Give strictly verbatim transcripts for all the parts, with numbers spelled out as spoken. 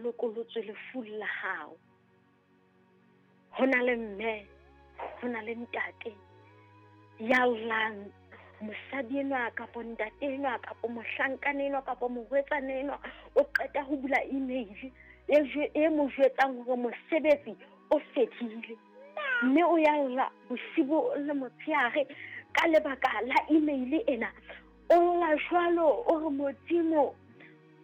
lokolotswe lefung la hao. Ho na le mme, ho na le ntate ya llang, mosadi enwa kapo ntate enwa kapo mohlankana enwa kapo morwetsana enwa o qeta ho bula email e e mo jwetsang hore mosebetsi o fedile, mme o ya lla bosibu le motshehare ka lebaka la email ena. O lla jwalo, o re Modimo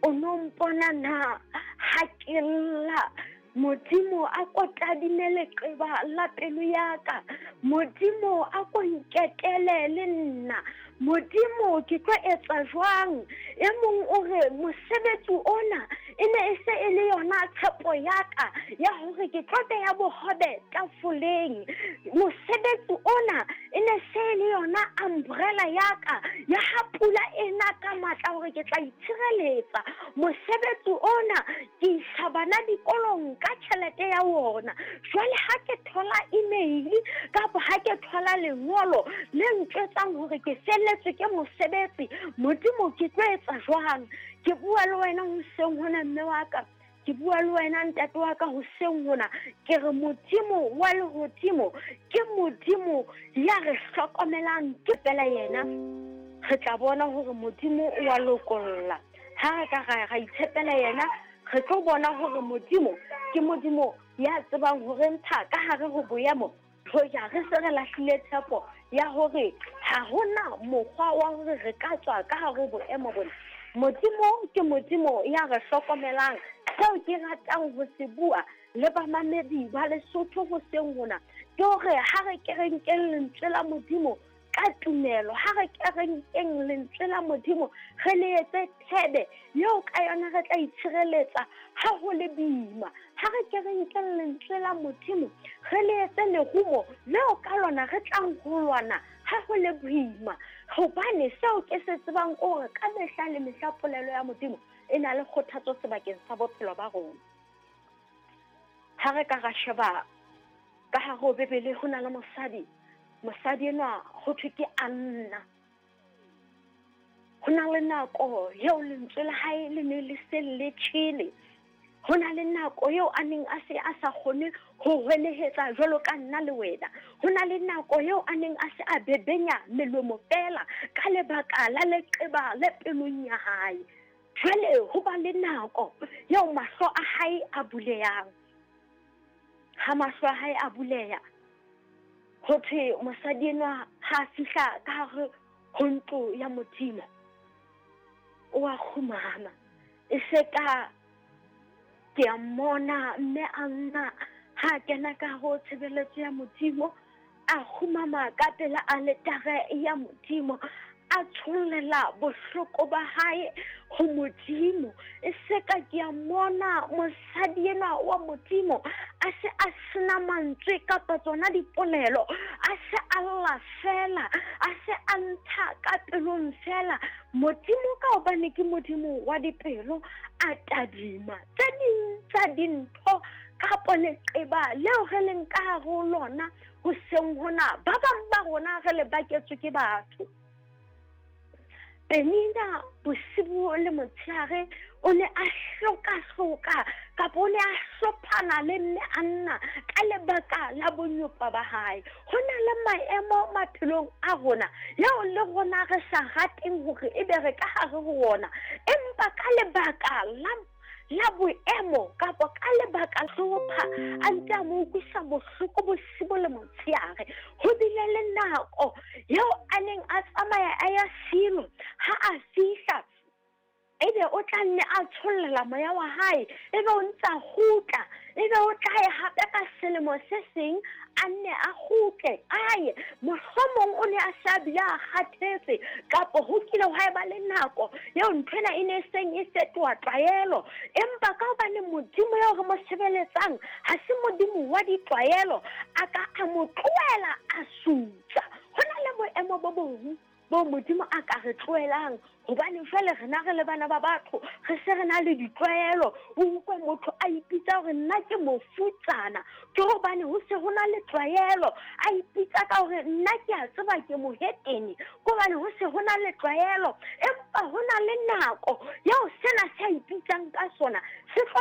o no mpona na ha ke lla? Modimo a ko tadime leqeba la pelo ya ka, Modimo a ko nketele le nna, Modimo ke tlo etsa jwang? E mong o re mosebetsi ona e ne e se e le yona tshepo ya ka ya hore ke tlo beha bohobe tafoleng, mosebetsi ona e ne se e le yona umbrella ya ka ya ha pula ena ka matla hore ke tla itshireletsa, mosebetsi ona ke isa bana dikolong ka tjhelete ya wona. Jwale ha ke thola email kapa ha ke thola lengolo le ntjwetsang hore ke felletswe ke mosebetsi, Modimo ke tlo etsa jwang? Ke bua le wena hoseng hona mme wa ka, ke bua le wena ntate wa ka hoseng hona, ke re Modimo wa lehodimo ke Modimo ya re hlokomelang, ke fela yena. Re tla bona hore Modimo o wa lokolla. Ha re ka ra itshepela yena, re tlo bona hore Modimo ke Modimo ya tsebang hore ntsha ka hare ho boemo hoja re se re lahlile tshepo ya hore ha hona mokgwa wa hore re ka tswa ka hare ho boemo bona. Modimo ke Modimo ya re hlokomelang. Seo ke ratang ho se bua le bamamedi ba Lesotho hoseng hona ke hore ha re ke re nkeng lentswe la Modimo ka tumelo, ha re ke re nkeng lentswe la Modimo re le etse thebe eo ka yona re tla itshireletsa ha ho le boima. Ha re ke re nkeng lentswe la Modimo re le etse lerumo leo ka lona re tlang ho lwana ha ho le boima, hobane seo ke se tsebang ke hore ka mehla le mehla polelo ya Modimo e na le kgothatso sebakeng sa bophelo ba rona. Ha re ka ra sheba ka hare ho Bibele, ho na le mosadi, mosadi enwa ho thwe ke Anna. Ho na le nako eo lentswe la hae le ne le se le tjhele, ho na le nako eo a neng a se a sa kgone ho hwelehetsa jwalo ka nna le wena, ho na le nako eo a neng a se a bebenya melomo fela ka lebaka la leqeba le pelong ya hae. Jwale ho ba le nako eo mahlo a hae a bulehang. Ha mahlo a hae a buleha, ho thwe mosadi enwa ha a fihla ka hare ho ntlo ya Modimo, o a kgumama. E se ka ke a mmona mme Anna ha kena ka ho tshebeletso ya Modimo, a kgumama ka pela aletare ya Modimo, a tshollela bohloko ba hae ho Modimo. E se ka ke a mmona mosadi enwa wa Modimo a se a sena mantswe kapa tsona dipolelo, a se a lla fela, a se a ntsha ka pelong fela. Modimo ka hobane ke Modimo wa dipelo, a tadima tse ding tsa dintho kapo leqeba leo re leng ka hare ho lona hoseng hona. Ba bang ba rona re le baketswe ke batho. Penina bosibu le motshehare o ne a hloka-hloka kapa o ne a hlophana le mme Anna ka lebaka la bonyopa ba hae. Ho na le maemo maphelong a rona eo le rona re sa rateng hore ebe re ka hare ho ona, empa ka lebaka la la boemo kapa ka lebaka hlopha a ntse a mo utlwisa bohloko bosibu le motshehare. Ho bile le nako eo a neng a tsamaya a ya Silo, ha a fihla ebe o tla nne a tshollela moya wa hae, ebe o ntse a kgutla, ebe o tla ya hape ka selemo se seng a nne a kgutle aye. Mohlomong o ne a se a bile a kgathetse, kapo ho kile hwa eba le nako eo nthwena e ne e seng e fetoha tlwaelo, empa ka hobane Modimo eo re mo sebeletsang ha se Modimo wa ditlwaelo, a ka a mo tlohela a sutsa. Ho na le boemo bo bong bo Modimo a ka re tlohelang, hobane jwale rena re le bana ba batho re se re na le ditlwaelo. O utlwe motho a ipitsa hore nna ke mofutsana, ke hobane ho se ho na le tlwaelo. A ipitsa ka hore nna ke a tseba ke mohetene, ke hobane ho se ho na le tlwaelo. Empa ho na le nako eo sena se a ipitsang ka sona se tlo